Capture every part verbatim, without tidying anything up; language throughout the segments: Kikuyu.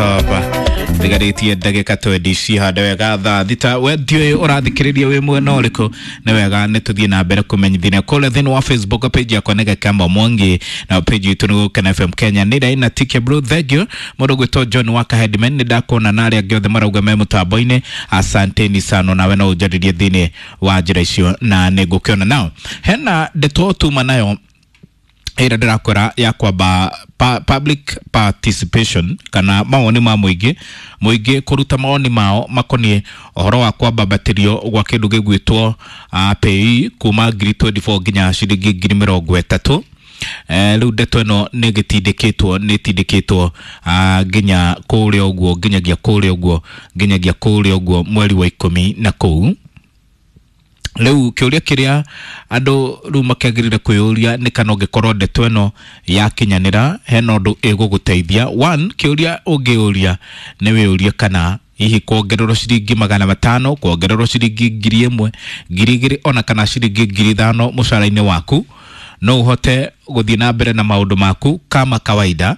Hapa ndigarĩtie ndagĩka twendi cihande wega thaa thita. We ndiũĩ ũrathikĩrĩria wĩ mwena ũrĩkũ, nĩ wega nĩ tũthiĩ na mbere kũmenyithania kũrĩa thĩinĩ wa Facebook page yakwa nĩ Gakamba Mwangi na page itũ nĩ Gũkena F M Kenya. Nĩ Raina T K Blue, thank you. Mũndũ gwĩtwo John Waka Headman, nĩ ndakuona na arĩa angĩ othe marauga me mũtambo-inĩ, asanteni sana. Nawe no ũnjarĩrie thĩinĩ wa njĩra icio na nĩ ngũkĩona nao hena ndeto tuma nayo ĩrĩa ndĩrakwĩra ya kwamba pa, public participation kana mawoni ma mũingĩ, mũingĩ kũruta mawoni mao makoniĩ ũhoro wa kwambambatĩrio gwa kĩndũ gĩgwĩtwo uh, P A Y E kuma ngiri mĩrongo ĩĩrĩ na inya nginya ciringi ngiri mĩrongo ĩtatũ. Eh, rĩu ndeto ĩno nĩ gĩtindĩkĩtwo, nĩ ĩtindĩkĩtwo uh, nginya kũrĩa ũguo, nginyagia kũrĩa ũguo, nginyagia kũrĩa ũguo mweri wa ikũmi na kũu. Rĩu kĩũria kĩrĩa andũ rĩu makĩagĩrĩire kwĩyũria nĩ kana ũngĩkorwo ndeto ĩno yakinyanĩra hena ũndũ ĩgũgũteithia. One, kĩũria ũngĩũria nĩ wĩũrie kana hihi kuongererwo ciringi magana matano, kuongererwo ciringi ngiri ĩmwe, ngiri igĩrĩ, ona kana ciringi ngiri ithano mũcara-inĩ waku, no ũhote gũthiĩ na mbere na maũndũ maku kama kawaida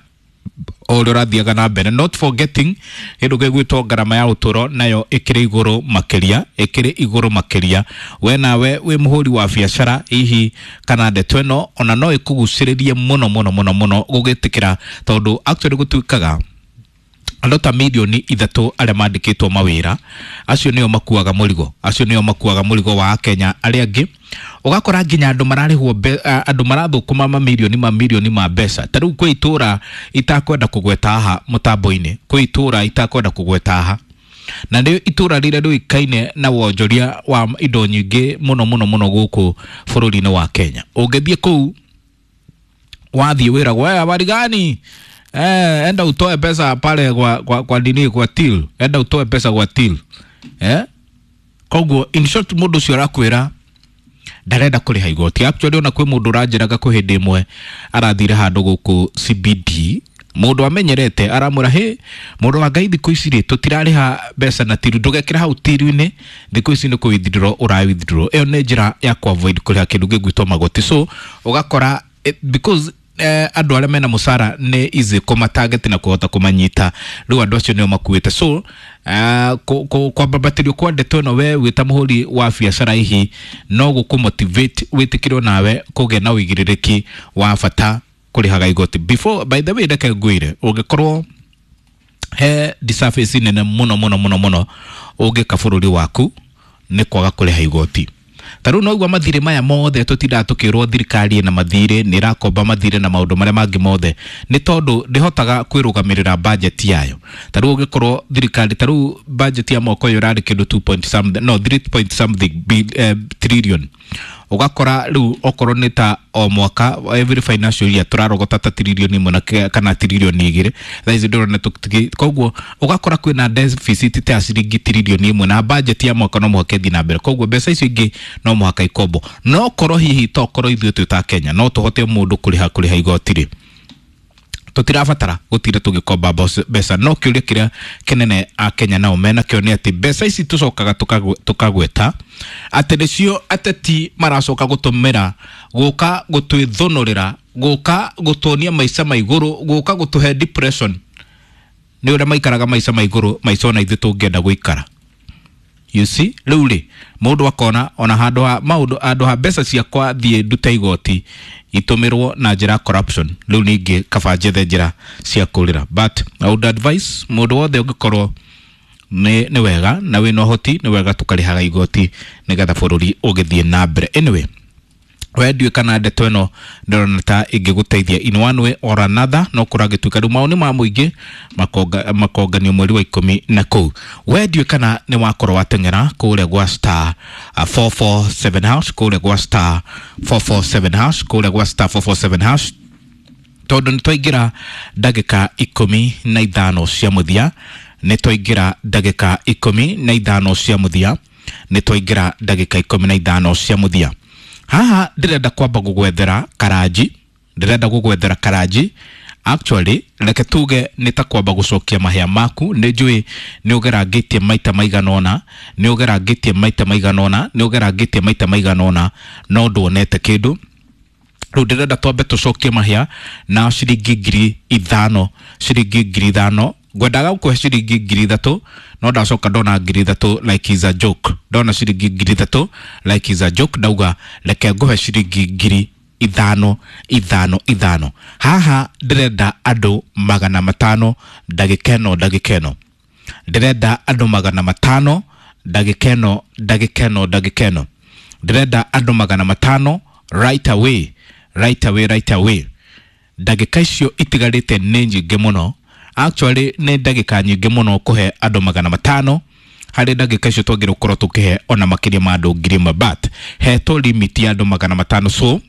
o ũrĩa ũrathiaga na mbere, not forgetting kĩndũ gĩgwĩtwo ngarama ya ũtũro nayo ĩkĩrĩ igũrũ makĩria, ĩkĩrĩ igũrũ makĩria. We nawe wĩ mũhũri wa biacara, hihi kana ndeto ĩno ona no ĩkũgucĩrĩrie mũno mũno mũno mũno gũgĩtĩkĩra, tondũ actually gũtuĩkaga andũ ta milioni ithatũ arĩa mandĩkĩtwo mawĩra, acio nĩo makuaga mũrigo, acio nĩo makuaga mũrigo wa Akenya arĩa angĩ. Ũgakora nginya andũ mararĩhwo mbe- a- andũ marathũkũma mamirioni mamirioni ma mbeca. Ta rĩu kwĩ itũra itakwenda kũgweta haha mũtambo-inĩ, kwĩ itũra itakwenda kũgweta haha, na nĩ itũra rĩrĩa rĩũĩkaine na wonjoria wa indo nyingĩ mũno mũno mũno gũkũ bũrũri-inĩ wa Kenya. Ũngĩthiĩ kũu, wathiĩ wĩragwo, "Eh, habari gani? Eh, enda utoe pesa pale kwa, kwa, kwa nini, kwa till, enda utoe pesa kwa till." Eh, koguo in short mũndũ ũcio arakwĩra ndarenda kũrĩha igoti. Actually ona kwĩ mũndũ ũranjĩraga kwĩ hĩndĩ ĩmwe arathire handũ gũkũ C B D, mũndũ amenyerete aramwĩra, "Hĩ, mũndũ wa Ngai, thikũ ici rĩ tũtirarĩha mbeca na till, ndũgekĩra hau till-inĩ, thikũ ici nĩ kũ withdraw ũra withdraw." Ĩyo nĩ njĩra ya ku avoid kũrĩha kĩndũ gĩgwĩtwo magoti. So ũgakora eh, because eh, andũ arĩa mena mũcara nĩ easy kũmatarget na kũhota kũmanyita, rĩu andũ acio nĩo makuĩte. So uh, kwambambatĩrio kwa ndeto ĩno, we wĩ ta mũhũri wa biacara, hihi no gũkũ motivate wĩtĩkĩrwo nawe kũgĩa na ũigĩrĩrĩki wa bata kũrĩhaga igoti. Before, by the way, reke ngwĩre, ũngĩkorwo he disservice nene mũno mũno mũno mũno ũngĩka bũrũri waku nĩ kwaga kũrĩha igoti. Ta rĩu noigua mathirĩ maya mothe tũtindaga tũkĩrwo thirikari ĩna mathirĩ, nĩ ĩrakomba mathirĩ na maũndũ marĩa mangĩ mothe, nĩ tondũ ndĩhotaga kwĩrũgamĩrĩra budget yayo. Ta rĩu ũngĩkorwo thirikari, ta rĩu budget ya mwaka ũyũ ĩrarĩ kĩndũ two point something, no three point something bil, eh, trillion. Ũgakora rĩu okorwo nĩ ta o mwaka, every financial year, tũrarogota ta trilioni ĩmwe na ke- kana trilioni igĩrĩ. Thaa ici ndĩrona tũkĩ- koguo ũgakora kwĩna deficit ta ya ciringi trilioni ĩmwe, na budget ya mwaka no mũhaka ĩthiĩ na mbere, koguo mbeca icio ingĩ no mũhaka ikombo. No korwo hihi tokorwo ithuĩ twĩ ta Kenya no tũhote mũndũ kũrĩha kũrĩha igoti rĩ, tũtirabatara gũtinda tũgĩkomba mbos- mbeca. No kĩũria kĩrĩa kĩnene akenya nao menakĩo nĩ atĩ mbeca ici tũcokaga tũkagwe- tũkagweta atĩ nĩcio ateti maracoka gũtũmĩra gũka gũtwĩthũnũrĩra, gũka gũtuonia maica ma igũrũ, gũka gũtũhe depression nĩ ũrĩa maikaraga maica ma igũrũ, maica ona ithuĩ tũngĩenda gũikara. You see, rĩu rĩ mũndũ akona ona handũ ha maũndũ, handũ ha mbeca ciakwa thiĩ ndute igoti itũmĩrwo na njĩra ya corruption, rĩu ningĩ kaba njethe njĩra cia kũrĩra. But I would advise mũndũ wothe, ũngĩkorwo nĩ nĩ wega na wĩna ũhoti, nĩ wega tũkarĩhaga igoti nĩgetha bũrũri ũgĩthiĩ na mbere. Anyway, we ndiũĩ kana ndeto ĩno ndĩrona ta ĩngĩgũteithia in one way or another. No kũragĩtuĩka rĩu maũni ma mũingĩ makonga- makonganio mweri wa ikũmi na kũu. We ndiũĩ kana nĩ wakorwo wateng'era kũrĩa gwa star uh, four four seven hash, kũrĩa gwa star four four seven hash, kũrĩa gwa star four four seven hash, tondũ nĩ twaingĩra ndagĩka ikũmi na ithano cia mũthia, nĩ twaingĩra ndagĩka ikũmi na ithano cia mũthia, nĩ twaingĩra ndagĩka ikũmi na ithano cia mũthia. Haha ndĩrenda kwamba gũgwethera karanji, ndĩrenda gũgwethera karanji. Actually reke tuge nĩ ta kwamba gũcokia mahĩa maku. Nĩ njũĩ nĩ ũgerangĩtie maita maigana ũna, nĩ ũgerangĩtie maita maigana ũna, nĩ ũgerangĩtie maita maigana ũna, no nduonete kĩndũ. Rĩu ndĩrenda twambe tũcokie mahĩa na ciringi ngiri ithano, ciringi ngiri ithano. Ngwendaga gũkũhe ciringi ngiri ithatũ, no ndacoka ndona ngiri ithatũ like is a joke. Ndona ciringi ngiri ithatũ like is a joke, ndauga reke ngũhe ciringi ngiri ithano ithano ithano. Haha ndĩrenda andũ magana matano ndagĩka ĩno ndagĩka ĩno. Ndĩrenda andũ magana matano ndagĩka ĩno ndagĩka ĩno ndagĩka ĩno. Ndĩrenda andũ magana matano right away, right away, right away. Ndagĩka icio itigarĩte nĩ nyingĩ mũno. Actually nĩ ndagĩka nyingĩ mũno kũhe andũ magana matano. Harĩ ndagĩka icio twagĩrĩirwo gũkorwo tũkĩhe ona makĩria ma andũ ngiri ĩmwe, but hetwo limit ya andũ magana matano. So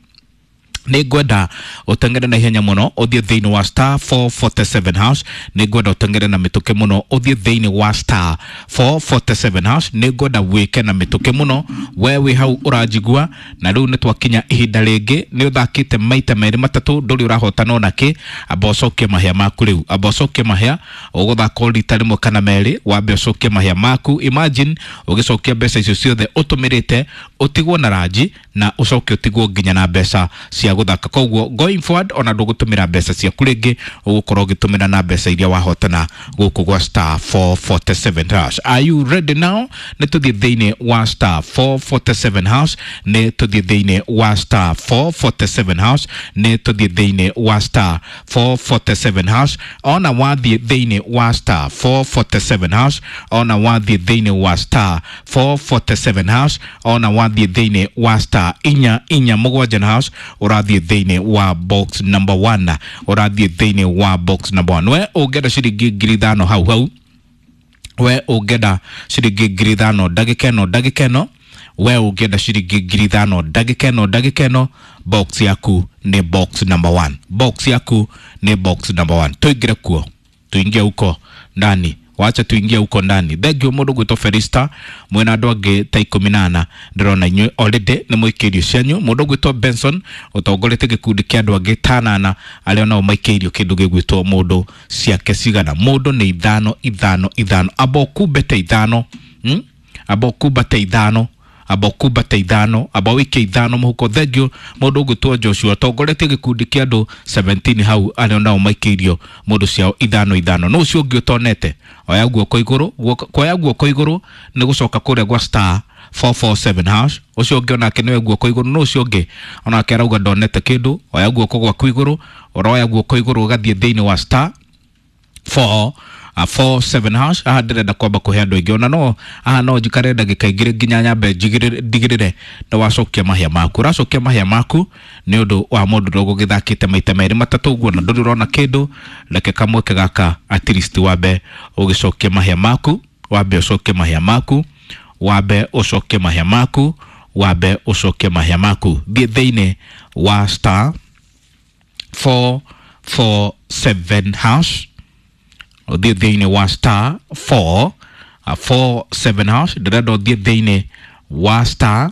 nĩ ngwenda ũteng'ere na ihenya mũno ũthiĩ thĩinĩ wa star four forty-seven hash. Nĩ ngwenda ũteng'ere na mĩtũkĩ mũno ũthiĩ thĩinĩ wa star four forty-seven hash. Nĩ ngwenda wĩke na mĩtũkĩ mũno we wĩ hau ũranjigua. Na rĩu nĩ twakinya ihinda rĩngĩ, nĩ ũthakĩte maita merĩ matatũ, ndũrĩ ũrahotana ona kĩ. Amba ũcokie mahĩa maku rĩu, amba ũcokie mahĩa. Ũgũthaka o rita rĩmwe kana merĩ, wambe ũcokie mahĩa maku. Imagine ũgĩcokia mbeca icio ciothe ũtũmĩrĩte, ũtigwo na ranji na ũcoke ũtigwo nginya na mbeca cia gũthaka. Koguo going forward ona ndũgũtũmĩra mbeca ciaku rĩngĩ, ũgũkorwo ũgĩtũmĩra na mbeca iria wahotana gũkũ gwa star four forty-seven hash. Are you ready now? Nĩ tũthiĩ thĩinĩ wa star four forty-seven hash. Nĩ tũthiĩ thĩinĩ wa star four forty-seven hash. Nĩ tũthiĩ thĩinĩ wa star four forty-seven hash. Ona wathiĩ thĩinĩ wa star four forty-seven hash. Ona wathiĩ thĩinĩ wa star four forty-seven hash. Ona wathiĩ thĩinĩ wa star inya inya mũgwanja na hash, ũrathiĩ thĩinĩ wa box number one. Ũrathiĩ thĩinĩ wa box number one. We ũngĩenda ciringi ngiri ithano hau hau, we ũngĩenda ciringi ngiri ithano ndagĩka ĩno ndagĩka ĩno, we ũngĩenda ciringi ngiri ithano ndagĩka ĩno ndagĩka ĩno, box yaku nĩ box number one. Box yaku nĩ box number one. Tũingĩre kuo, tuingie huko ndani. Wacha tuingie huko ndani. Thank you mũndũ gwĩtwo Felista mwĩna andũ angĩ ta ikũmi na ana ndĩrona inyuĩ already nĩ mũikĩirio cianyu. Mũndũ gwĩtwo Benson ũtongoretie gĩkundi kĩa andũ angĩ ta anana arĩa nao maikĩirio kĩndũ gĩgwĩtwo mũndũ ciake cigana. Mũndũ nĩ ithano ithano ithano. Amba ũkumbete ithano, hmm? Amba ũkumbate ithano, amba ũkumbate ithano, amba ũikie ithano mũhuko. Thank you mũndũ ũgwĩtwo Joshua ũtongoretie gĩkundi kĩa andũ seventeen hau arĩa nao maikĩirio mũndũ ciao ithano ithano. No ũcio ũngĩ ũtonete, oya guoko igũrũ, kuoya guoko igũrũ nĩ gũcoka kũrĩa gwa star four four seven hash. Ũcio ũngĩ onake nĩwe guoko igũrũ. No ũcio ũngĩ onake arauga ndonete kĩndũ. Oya guoko gwaku igũrũ, ũroya guoko igũrũ ũgathiĩ thĩinĩ wa star four four seven hash. Haha ndĩrenda kwamba kũhe andũ aingĩ ona no haha no njikare ndagĩka igĩrĩ nginya nyambe ndigĩrĩre nĩ wacokia mahĩa maku. Ũracokia mahĩa maku nĩ ũndũ wa mũndũ ũrĩa ũgũgĩthakĩte maita merĩ matatũ ũguo na ndũrĩ ũrona kĩndũ. Reke kamweke gaka at least wambe ũgĩcokia mahĩa maku, wambe ũcokie mahĩa maku, wambe ũcokie mahĩa maku, wambe ũcokie mahĩa maku. Thiĩ thĩinĩ wa star four four seven hash. Ũthiĩ thĩinĩ wa star four four seven hash. Ndĩrenda ũthiĩ thĩinĩ wa star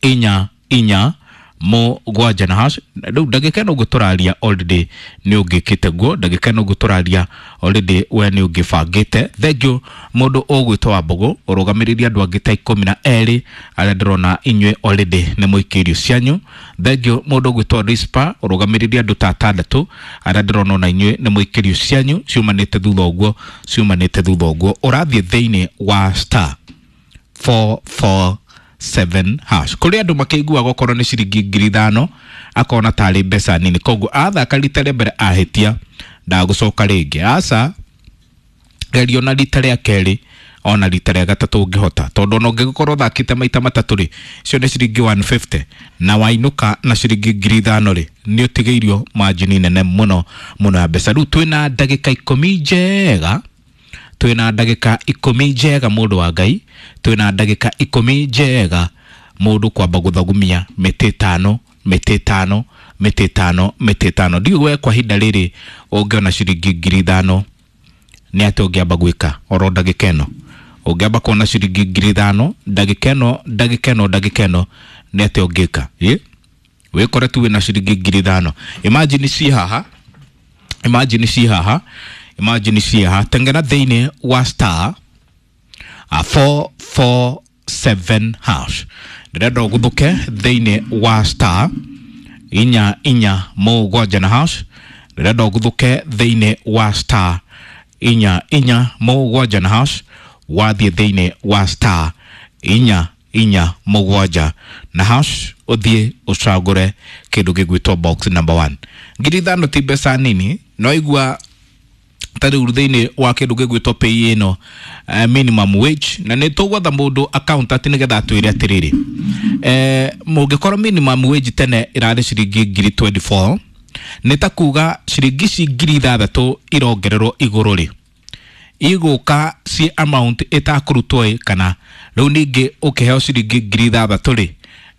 inya inya mũgwanja na hash. Rĩu ndagĩka ĩno ũguo tũraria already nĩ ũngĩkĩte guo, ndagĩka ĩno ũguo tũraria already we nĩ ũngĩbangĩte. Thank you mũndũ ũgwĩtwo Wambũgũ ũrũgamĩrĩrie andũ angĩ ta ikũmi na erĩ arĩa ndĩrona inyuĩ already nĩ mũikĩirio cianyu. Thank you mũndũ ũgwĩtwo Rispa ũrũgamĩrĩrie andũ ta atandatũ arĩa ndĩrona ona inyuĩ nĩ mũikĩirio cianyu ciumanĩte thutha ũguo, ciumanĩte thutha ũguo. Ũrathiĩ thĩinĩ wa star four four seven hash. Kũrĩ andũ makĩiguaga okorwo nĩ ciringi ngiri ithano akona tarĩ mbeca nini, koguo athaka rita rĩa mbere ahĩtia ndagũcoka rĩngĩ. Aca, geria ona rita rĩa kerĩ ona rita rĩa gatatũ ũngĩhota, tondũ ona ũngĩgĩkorwo ũthakĩte maita matatũ rĩ, icio nĩ ciringi one fifty na wainũka na ciringi ngiri ithano rĩ, nĩ ũtigĩirio margin nene mũno mũno ya mbeca. Rĩu twĩna ndagĩka ikũmi njega, twĩna ndagĩka ikũmi njega mũndũ wa Ngai, twĩna ndagĩka ikũmi njega mũndũ kwamba gũthagumia mĩtĩ ĩtano mĩtĩ ĩtano mĩtĩ ĩtano mĩtĩ ĩtano. Ndiũĩ we kwa ihinda rĩrĩ ũngĩona ciringi ngiri ithano nĩ atĩa ũngĩamba gwĩka oro ndagĩka ĩno? Ũngĩamba kuona ciringi ngiri ithano ndagĩka ĩno ndagĩka ĩno ndagĩka ĩno nĩ atĩa ũngĩka? Ĩ wĩkore tu wĩna ciringi ngiri ithano. Imagine ci haha, imagine ci haha, imagine ci haha. Tengera thĩinĩ wa star four four seven hash. Ndĩrenda ũguthũke thĩinĩ wa star inya inya mũgwanja na hash. Ndĩrenda ũguthũke thĩinĩ wa star inya inya mũgwanja na hash, wathiĩ thĩinĩ wa star inya inya mũgwanja na hash, ũthiĩ ũcagũre kĩndũ gĩgwĩtwo box number one. Ngiri ithano ti mbeca nini, no igua ta rĩu thĩinĩ wa kĩndũ gĩgwĩtwo pay ĩno, uh, minimum wage, na nĩ tũgwetha mũndũ accountant nĩgetha atwĩre atĩrĩrĩ, eh, mũngĩkorwo minimum wage tene ĩrarĩ ciringi ngiri mĩrongo ĩrĩ na inya, nĩ ta kuga ciringi ici ngiri ithathatũ irongererwo igũrũ rĩ, igũka ci amount ĩtakũrutwo ĩ, kana rĩu ningĩ ũkĩheo ciringi ngiri ithathatũ rĩ,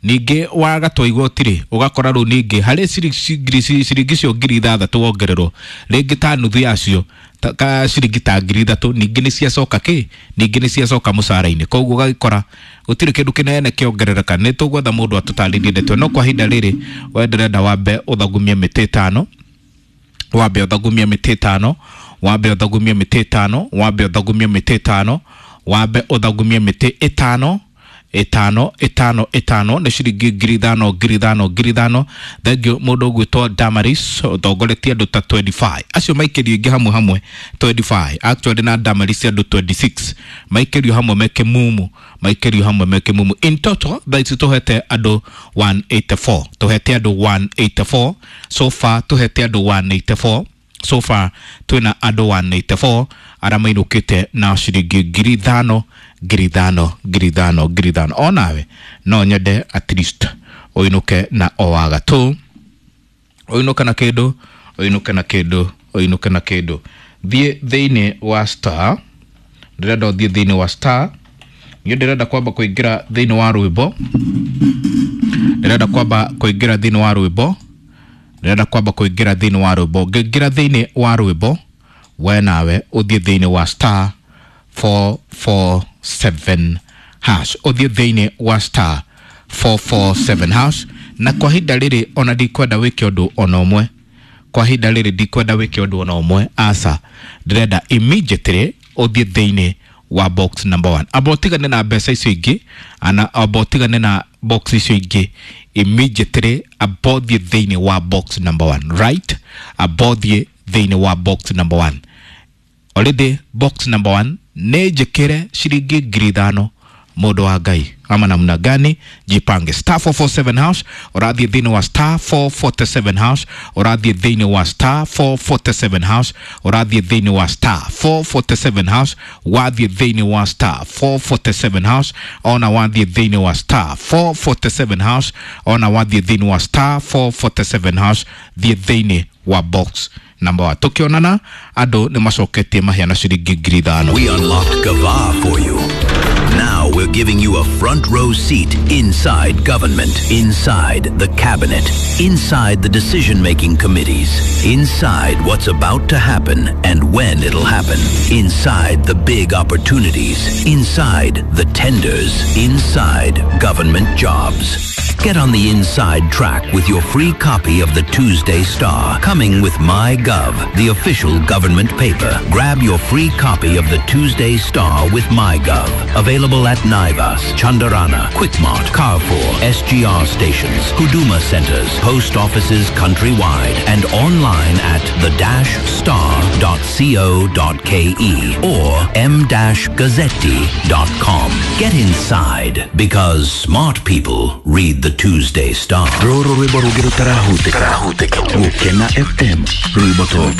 ningĩ wagatwo igoti rĩ, ũgakora rĩu ningĩ harĩ ciringi ciringi icio ngiri ithathatũ wongererwo rĩngĩ ta nuthu yacio, ta, ka ciringi ta ngiri ithatũ ningĩ nĩ ciacoka kĩ, ningĩ nĩ ciacoka mũcara-inĩ. Koguo ũgagĩkora gũtirĩ kĩndũ kĩnene kĩongerereka. Nĩ tũgwetha mũndũ atũtarĩrie ndeto, no kwa ihinda rĩrĩ we ndĩrenda wambe ũthagumie mĩtĩ ĩtano, wambe ũthagumie mĩtĩ ĩtano, wambe ũthagumie mĩtĩ ĩtano, wambe ũthagumie mĩtĩ ĩtano, wambe ũthagumie mĩtĩ ĩtano, ĩtano ĩtano ĩtano, nĩ ciringi ngiri ithano, ngiri ithano, ngiri ithano. Thengiũ mũndũ ũgwĩtwo Damaris ũtongoretie andũ ta mĩrongo ĩrĩ na ithano, acio maikĩrio ingĩ hamwe hamwe mĩrongo ĩrĩ na ithano actually, na Damaris andũ mĩrongo ĩrĩ na ithathatũ maikĩrio hamwe meke mumu, maikĩrio hamwe meke mumu. In total thaa ici tũhete andũ igana rĩa mĩrongo ĩnana na inya, tũhete andũ igana rĩa mĩrongo ĩnana na inya so far, tũhete andũ igana rĩa mĩrongo ĩnana na inya so far, twĩna andũ igana rĩa mĩrongo ĩnana na inya arĩa mainũkĩte na ciringi ngiri ithano, ngiri ithano, ngiri ithano, ngiri ithano. Onawe no nyende at least ũinũke na o wagatũ, ũinũke na kĩndũ, ũinũke na kĩndũ, ũinũke na kĩndũ. Thiĩ thĩinĩ wa star, ndĩrenda ũthiĩ thĩinĩ wa star. Niĩ ndĩrenda kwamba kũingĩra thĩinĩ wa rwĩmbo, ndĩrenda kwamba kũingĩra thĩinĩ wa rwĩmbo, ndĩrenda kwamba kũingĩra thĩinĩ wa rwĩmbo. Ngĩingĩra thĩinĩ wa rwĩmbo, we nawe ũthiĩ thĩinĩ wa star four four seven hash, ũthiĩ thĩinĩ wa star four four seven hash. Na kwa ihinda rĩrĩ ona ndikwenda wĩke ũndũ ona ũmwe, kwa ihinda rĩrĩ ndikwenda wĩke ũndũ ona ũmwe, aca. Ndĩrenda immediately ũthiĩ thĩinĩ wa box number one. Amba ũtigane na mbeca icio ingĩ, ana amba ũtigane na box icio ingĩ immediately, amba ũthiĩ thĩinĩ wa box number one, right? Amba ũthiĩ thĩinĩ wa box number one. Already box number one nĩ njĩkĩre ciringi ngiri ithano. Mũndũ wa Ngai, ama namna gani? Jipange. Star four four seven hash, ũrathiĩ thĩinĩ wa star four four seven hash, ũrathiĩ thĩinĩ wa star four four seven hash, ũrathiĩ thĩinĩ wa star four four seven hash, wathiĩ thĩinĩ wa star four four seven hash, ona wathiĩ thĩinĩ wa star four four seven hash, ona wathiĩ thĩinĩ wa star four four seven hash, thiĩ thĩinĩ wa box number one. Tukionana andũ nĩ macoketie maheana ciringi ngiri ithano. We unlocked Gava for you. Now we're giving you a front row seat inside government, inside the cabinet, inside the decision making committees, inside what's about to happen and when it'll happen, inside the big opportunities, inside the tenders, inside government jobs. Get on the inside track with your free copy of the Tuesday Star, coming with MyGov, the official government paper. Grab your free copy of the Tuesday Star with MyGov. Available at Naivas, Chandarana, Quickmart, Carrefour, S G R stations, Huduma centers, post offices countrywide, and online at the dash star dot co dot k e or m dash gazzetti dot com. Get inside, because smart people read the Tuesday Star. Rũrũ rwĩmbo rũngĩ rũtarahutĩka. Gũkena F M, rwĩmbo top.